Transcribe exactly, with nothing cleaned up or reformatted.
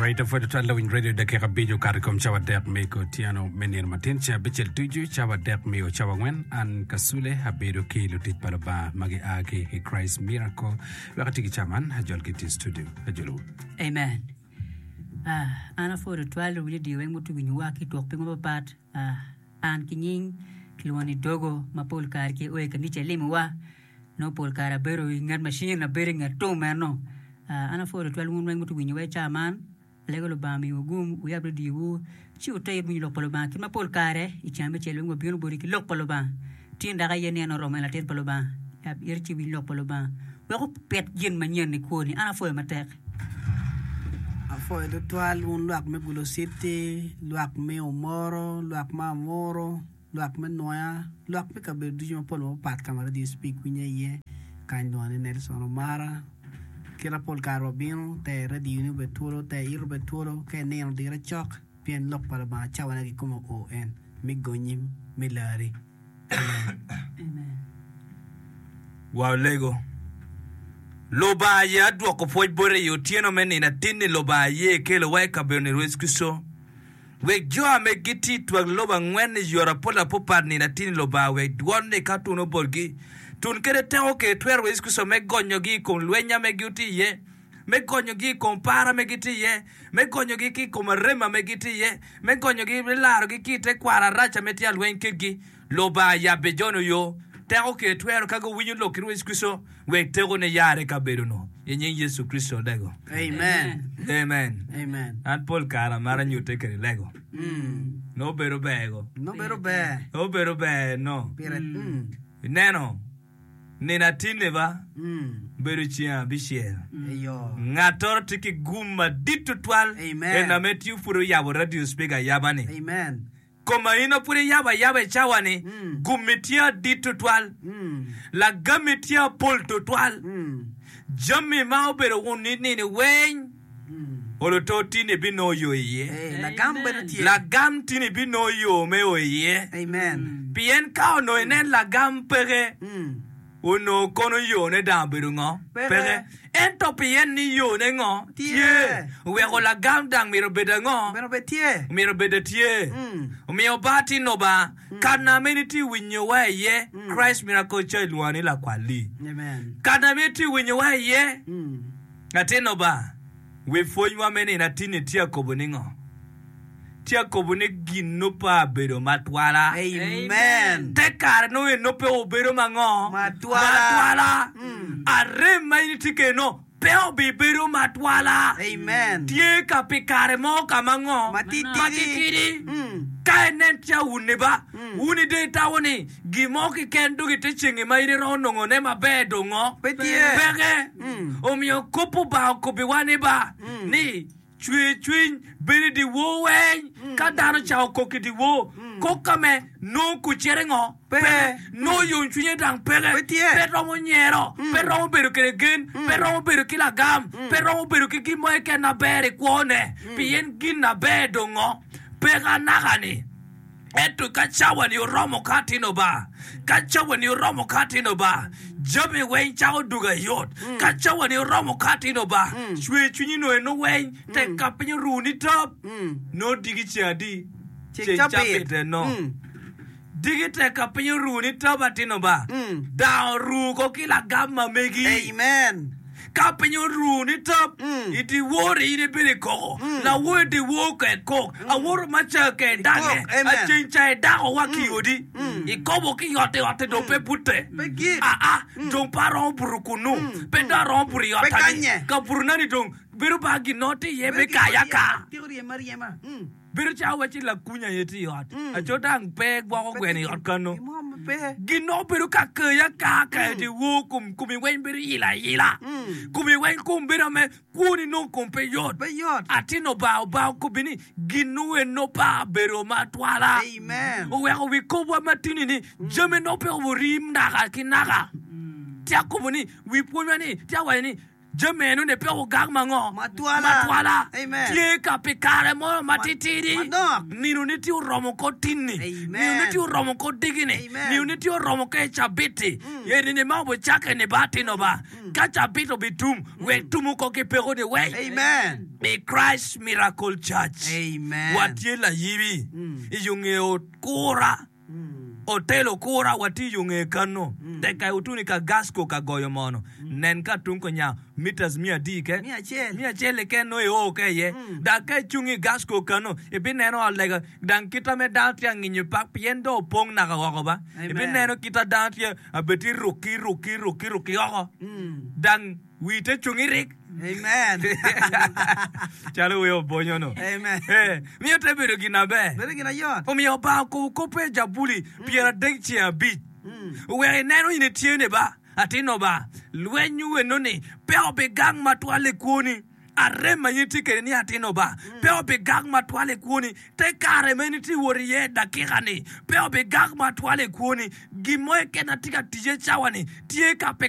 Alright, apwoyo tutwal lawiny radio dakika abic okato i kom cawa adek me otyeno me nino matin ceng abicel ducu cawa adek me o cawa angwen an Kasule abedo ki lutic pa Lubanga ma gia ki i Christ Miracle wek ati ki cawa man ajol ki tye i studio ajolowu. Amen. Ah, an apwoyo tutwal luwiny radio weng mutu winyowa ki twok piny mapapat. Ah, an ki nying kilwongo ni Dogo ma pol kare ki o i kanica ilimowa. Nongo pol kare abedo i nget macin, abedo i nget tum eno. An apwoyo tutwal wun weng ma wuwinyowa i caa man. Alego Lubanga omiwu gum, wuyab radiowu, ci wuter it winyo lok pa Lubanga. Kit ma pol kare i ceng abicel weng wabino boti ki lok pa Lubanga. Tin dok aye nino oromo en latin pa Lubanga. Yab iti ci iwiny lok pa Lubanga wek opit gin manyen i kwoni. An apwoyo matek. Apwoyo tutwal wun lwak me Gulu City, lwak me Omoro, lwak me Amuru. Lwak me nwoya, lwak me kabedo ducu mapol mapapat ka ma Radio Speak winye iye. Kany lwongo ni Nelson Omara. Kit ma pol kare wabino, ter radio ni obed twolo, ter iti obed twolo, ka inino dire cok, pien lok pa Lubanga cawane kikome oo en, me gonyi, me lari. Amen. Walego. Lubanga aye adwoko pwoc bote i otyeno me nino atin-ni Lubanga aye ekelowa i kabedo-ni Yecu Kricito. Wek jo a me gitye i twak lobo angwen i yore apol apopat nino atir-ni Lubanga wek dwon-ni ka tun obotgi, tun kede teko kede twero wa Yecu Kricito me gonyogi i kom lweny ame gitye iye, me gonyogi i kom par ame gitye iye, me gonyogi ki i kom arem ame gitye iye, me gonyogi me larogi ki i te kwaro arac ame tye alweny kedgi. Lubanga yabbe jo-nu yo, teko kede twero ka guwinyo lok ki Rwot Yecu Kricito, wek tekone yare i kabedo-nu. I nying Yecu Kricito alego. Amen. Amen. Amen. An pol kare amaro anyutte kede lego. Nongo bedo ber go. Nongo bedo ber. Nongo bedo ber no. Pire. Mm. Ineno, nino atinni ba, Mm. bedo ceng abicel. Eyo. Ngattoro tye ki gum madit tutwal. Amen. En ame tye pud oyabo radio speaker ayaba-ni. Amen. Koma in ma pud iyabo ayaba i cawa-ni, gummi tye adit twatwal, lagammi tye apol twatwal, jami ma obedo wun nini weng olo to tini ibinongo yo iye. Lagam tini ibinongo yo me o iye. Pien ka onongo inen lagam peke, Onongo kono yone dang obedo ngo? Peke. Ento pien ni yone ngo? Tye. Oweko lagam dang myero obed ango? Myero obed tye. Omiyo ba tino ba, kana ma in itye winyowa iye, Christ Miracle Church lwonga ni lakwal-li. Kana ma itye winyowa iye, atino ba, wi pwonywa me nino atinni tye akobo ni ngo? Tye akobo ni gin nongo pe abedo matwala. Amen. Te kare nongo en nongo pe obedo ma ngo? Matwala. Matwala. Arem ma in itye kwede nongo pe obibedo matwala. Amen. Tye ka pi kare mo ka ma ngo? Matitidi. Matitidi. Mm. Ka inen tye awunni ba, wun dong itamo ni gin mo keken dong ite cengi ma in iromo nongone maber dong ngo? Pe tye. Peke. Omiyo kop Lubanga okobbiwa ni ba, ni Cwer cwiny bedo i dyewor weng. Ka dano ocako kok i dyewor, kok ka me nongo kucere ngo? Peke. Nongo yomcwinye dang peke. Pe romo nyero, pe romo bedo kwede gen, pe romo bedo ki lagam, pe romo bedo ki gin mo keken maber i kwone, pien gin aber dong ngo? Peke anaka-ni. Ento ka cawani oromo ka atino ba, ka cawani oromo ka atino ba, jami weng cako dugo ayot. Ka cawani oromo ka atino ba, cwer cwinyi nongo eno weng, tek ka piny oru ni top, nongo diki ceng adi? Ceng cabit eno. Diki tek ka piny oru ni top atino ba, dang oru ko ki lagam ma megi. Amen. Ka piny oru ni top, i dyewor-ri in ibedo i koko, lawoyo dyewor ka ikok, awoto ma ca ka idange, aceng ca idako wa ki i odi, ikobo ki i otti, otti dong pe bute, aa, dong pe aromo buto kunnu, pe dong aromo buto i otta-ni, kabuto-na-ni dong bedo ba gin mo tye iye me kayo aka. Bedo calo wacci lakuny aye tye i ot, aco dang pe gwoko gweno i ot kano. Gin nongo bedo ka kayi aka ka dyewor, kom komi weng bedo ilo aila, komi weng kom bedo ame kwoni nongo kom pe yot. Atin Obanga Obanga okobbi ni gin nongo en pa bedo matwala. Oweko wi kobwa matini ni jami nongo pe orim naka ki naka. Tye akobo ni wi pwonywa ni tye awaco ni Jami enoni pe ogak ma ngo? Matwala. Matwala. Amen. Tye ka pi kare mo matitidi. Manok. Nino-ni tye oromo ko tinni. Amen. Nino-ni tye oromo ko digi-ni. Amen. Nino-ni tye oromo ka i cabit-ti. Eni-ni ma obicakke-ni ba atino ba. Ka cabit obitum, wek tumu ko ki peko-ni weng. Amen. I Christ Miracle Church, Amen. watye layibi i yo nge okura. Otel okura watye i yo nge kano. Tek ka otuni ka Gasco ka goyo mono, nen ka tung konya meters miya adi keken? Miya acel. Miya acel keken nongo io ka iye. Dok ka icung i Gasco kano, ibineno ot lega dang kita me dano tye ka nginyo pak pien dong opong naka woko ba. Amen. Ibineno kita dano tye abed rukki rukki rukki rukki oko. Dang Wi te cung irik. Amen. Calo wer obonyo-nu. Amen. Eh, miyo te bedo gin aber. Bedo gin ayot. Omiyo Obanga okobo koppe i Jabuli pyeradek ceng abic. Wek ineno in itye ni ba, atin Obanga, lweny enoni pe obigang matwal i kwoni. Arem ma in itye kwede ni atin Obanga pe obigang matwal i kwoni. Te kare ma in itye wot iye i dakika-ni pe obigak matwal i kwoni. Gin mo keken ma tye ka ticce cawa-ni tye ka pi